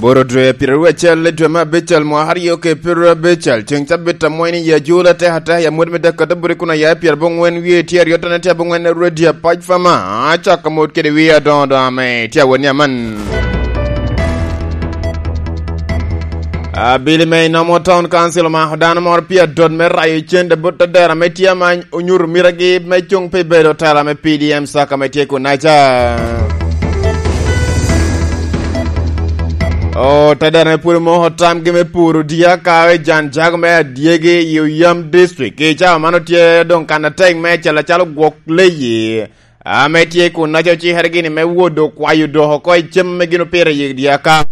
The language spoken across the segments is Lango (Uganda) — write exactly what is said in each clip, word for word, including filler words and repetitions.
Boro dwe pyeararyo acel i dwe me abicel mwaka aryo ki pyeararyo abicel, ceŋ cabit amweny i ajula atek atek i amut me dek kata buri kun aya i pyerabongwen wie tye aryo tone tye abongwen rwedi apac fama, acako amut kede wie adoŋo doŋ ame tye awot ni aman. Abili me inomo Town Council omako dano moro pi adot me rayo cente bot adera ame tye amany onyuto mitagi me cuŋ pi bedo tela me P D M saka ame tye kunaca. Otedere pwod omoko tamgi me puro dyaka i jan jago me adyegi i Oyam District. I cawa man otye doŋ kan atek me acel acalo gwok leyi ame tye kun naca ocikere gini me wodo kwayo dok oko i cem ame gin opire i dyaka.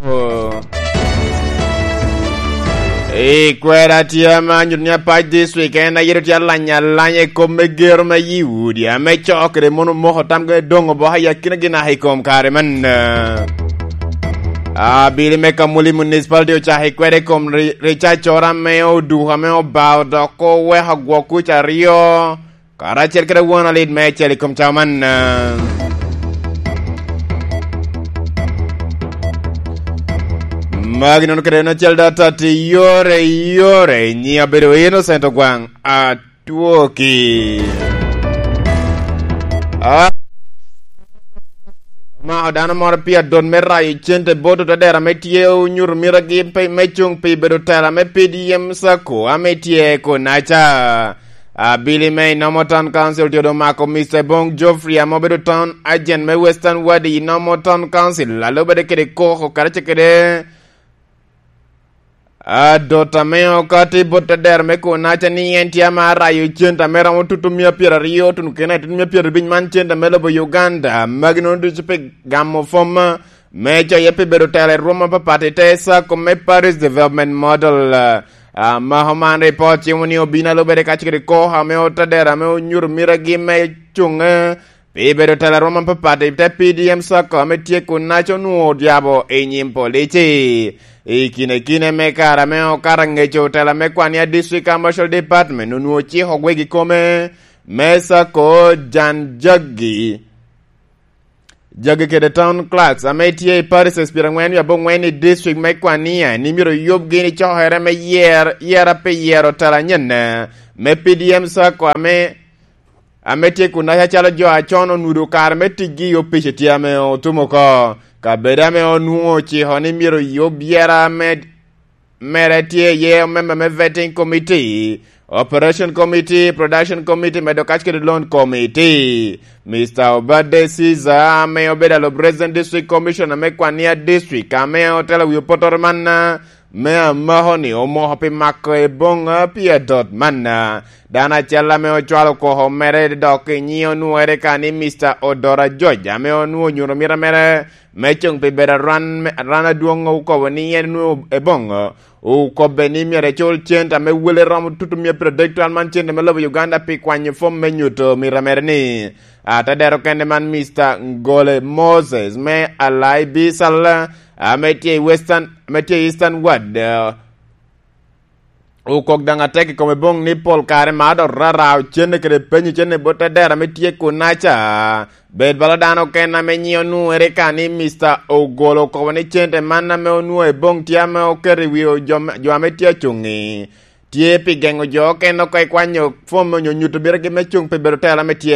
I kwera tye ame anyuto ni Apac District en aye tye alanya alanya i kom me gero me yi udi ame coo kede mono omoko tamgi doŋ oboko i akinagi naka i kom kare man. Abili me Kamuli Municipality ocako i kwede i kom ri-, ricaccoro ame oduko ame obao dok oweko gwok kuc aryo, karacel kede won alit me acel i kom cawa man. Magi nono kede en acel data ti yore yore nyi abedo Innocent Ogwaŋ. Atwoki. A-, omako dano moro pi adot me rayo cente bot otadera ame tye onyuto mitagi pe-, me cuŋ pi bedo tela me P D M sacco ame tye kunaca. Abili me inomo Town Council tye omako Mister Bong Geoffrey ame obedo Town Agent me Western Ward i inomo Town Council, alubade kede koko karacel kede adot ame okati bot tedero me kunaca ni en tye ama rayo cente ame romo tutu mia pyeraryo tuno kene tutu mia pyerabic man cente me lobo Uganda. Magi nono ducu pi gamo fom me coye pi bedo telo i rwom apapat i te sacco me Paris Development Model. Ah, mako man ripot cimo ni obino alubere kacel kede koko ame otadero ame onyuto mitagi me cuŋe pi bedo telo a rwom apapat i te P D M sacco ame tye kunaca onwoŋo odyabo i nyim polici. I kine kine me kare ame okato aŋeco tela me kwania District Commercial Department onwoŋo ociko gwegi kome me sacco jan jaggi, jaggi kede town clerks ame tye i parishes pyerangwen wie abongwen i district me Kwania ni myero yubgi ni cokere me yer, yera pi yero tela anyen me P D M sacco ame ame tye kunaca calo jo acon onudo kare me ticgi i opic tye ame otum oko. Kabedo ame onwoŋo ociko ni myero yub yera me-, mere tye iye omemba me vetting committee, operation committee, production committee, medo kac kede loan committee. Mister Obade Caesar ame obedo alo President District Commissioner me Kwania District ame otelo wi opotoro man, me amako ni omoko pi mako i boŋa pi adot manna. Dano acel ame ocwalo koko mere dok i nyiŋe onwoŋere ka ni Mister Odora George ame onwoŋo onyuto mita mere me cuŋ pi bedo aran, aran adwoŋ okobo ni en onwoŋo i boŋo okobbe ni myero ecul cente ame wele romo tutu mia pyeradek twal man cente me lobo Uganda pi kwanyo fom me nyuto mita mere ni. Atadero kende man Mister Ngole Moses me Alai Bisal ame tye i Western, ame tye i Eastern Ward, eh, okok daŋ atek i kome boŋ ni pol kare mar dok rara ocenne kede penyo cente bot tadera ame tye kunaca. Bed bala dano oken ame nyiŋe onwoŋere ka ni Mister Ogolo okobo ni cente man ame onwoŋo i boŋ tye ame oketo i wi jo, jo ame tye acuŋ-ŋi. Tye pi geŋo jo oken oko i kwanyo fom onyo nyuto bitegi me cuŋ pi bedo tela ame tye